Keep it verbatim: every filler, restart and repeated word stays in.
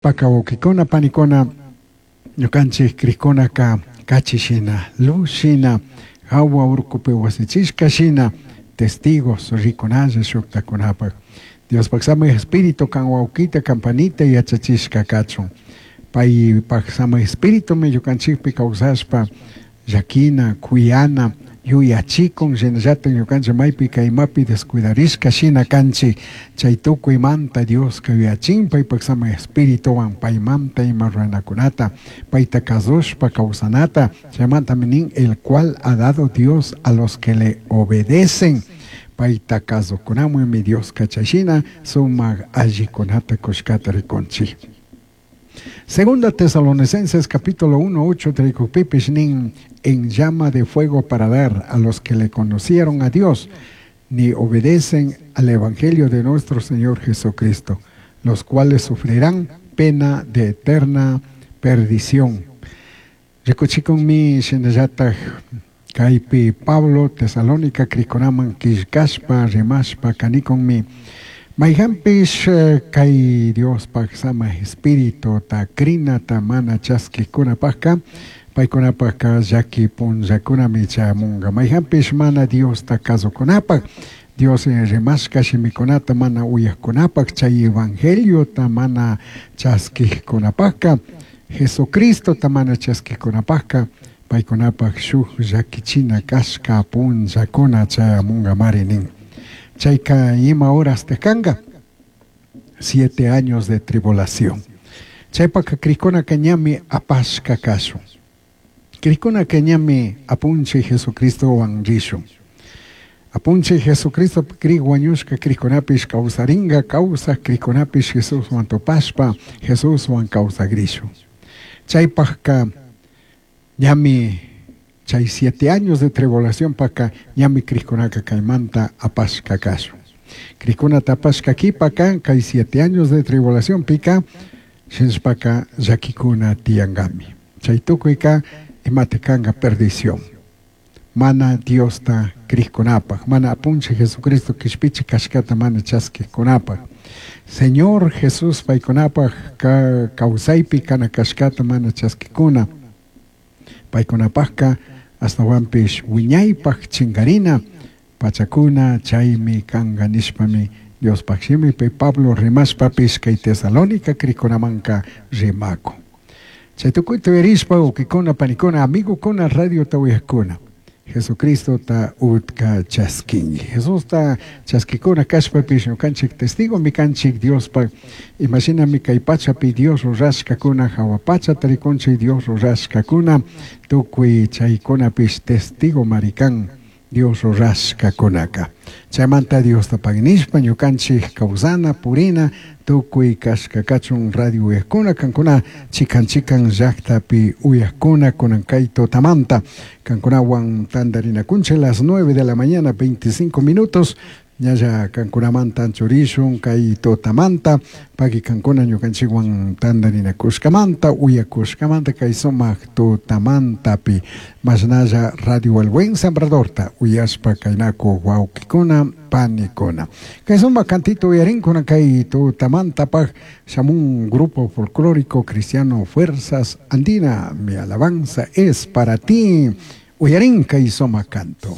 Paka wawkikuna panikuna ñukanchik krikkunaka kachi shina luz shina hawa urkupi wasichishka shina testigos rikunalla shuktakunapak Diospaj Samaj Espíritu kan wawkita kan panita yachachishka kachun paypak Samaj Espiritumi ñukanchikpi kawsashpa llakina kuyana yuyachikun shinallatak ñukanchik maypi kaymapi descuidarishka shina kanchik chay tukuymanta Dioska yuyachin paypak Samaj Espirituwan paymanta ima ruranakunata payta kasushpa kawsanata chaymantami nin el cual ha dado Dios a los que le obedecen payta kasukunamanmi Dioska chayshina sumak allikunata kushkata rikunchik. Segunda Tesalonicenses capítulo uno, ocho, trikukpipish nin en llama de fuego para dar a los que le conocieron a Dios, ni obedecen al Evangelio de nuestro Señor Jesucristo, los cuales sufrirán pena de eterna perdición. Rikuchikunmi shinallatak kaypi Pablo Tesalónica krikunaman killkashpa rimashpa kanikunmi mayhanpish kay Diospaj Samaj Espíritu ta krinata mana chaskikkunapajka paykunapajka llaki punllakunami chayamunka mayhanpish mana Diosta kasukunapaj Dios rimashka shimikunata mana uyajkunapaj chay evangeliota mana chaskikkunapajka Jesucristota mana chaskikkunapajka paykunapaj shuk llakichina kashka punllakuna chayamunkamari nin. Chayka ima horas te kanka siete años de tribulación. Chaypaka krikuna ñami apashka kashun. Krikuna ñami apunchi Jesucristowan rishun. Apunchi Jesucristo kri wañushka krikunapish kawsarinka kawsaj krikunapish Jesuswan tupashpa Jesuswan kawsagrishun. Chaypajka ñami chay siete años de tribulación paka ñami krikunaka kaymanta apashka kashun. Krikunata apashka kipaka kay siete años de tribulación pika shinshpaka llakikuna tiyankami. Chay tukuyka imata kanka perdición. Mana Diosta krikunapaj, mana apunchi Jesucristo kishpichi kashkata mana chaskikkunapaj. Señor Jesús paykunapaj ka kawsaypi kana kashkata mana chaskikuna. Paykunapajka astawanpish wiñaypaj chinkarina pachakuna chaymi kanka nishpami Diospaj shimipi Pablo rimashpapish kay Tesalónica krikunamanka rimakun. Chay tukuyta uyarishpa wawkikuna panikuna amigokuna radiota uyajkuna Jesucristo ta utka chaskinki. Jesusta chaskikuna kashpapish ñukanchik testigo kanchik Diospaj imashinami kay pachapi Dios rurashkakuna hawa pachata rikunchik Dios rurashkakuna tukuy chaykunapish testigo marikan Dios rurashkakunaka. Chaymanta Diosta paginishpa ñukanchik kawsana purina tukuy kashka kachun radio uyajkuna kankuna chikan chikan llaktapi uyajkuna kunan kay tutamanta kankunawan tantarinakunchik las nueve de la mañana veinticinco minutos ñalla kankunamanta anchurishun kay tutamanta paki kankuna ñukanchikwan tantarinakushkamanta uyakushkamanta kay sumak tutamantapi mashnalla Radio El Buen Sembradorta uyashpa kaynaku wawkikuna panikuna. Kay sumak cantito uyarinkuna kay tutamantapaj shamun grupo folclórico cristiano Fuerzas Andina, mi alabanza es para ti. Uyarin kay sumak canto.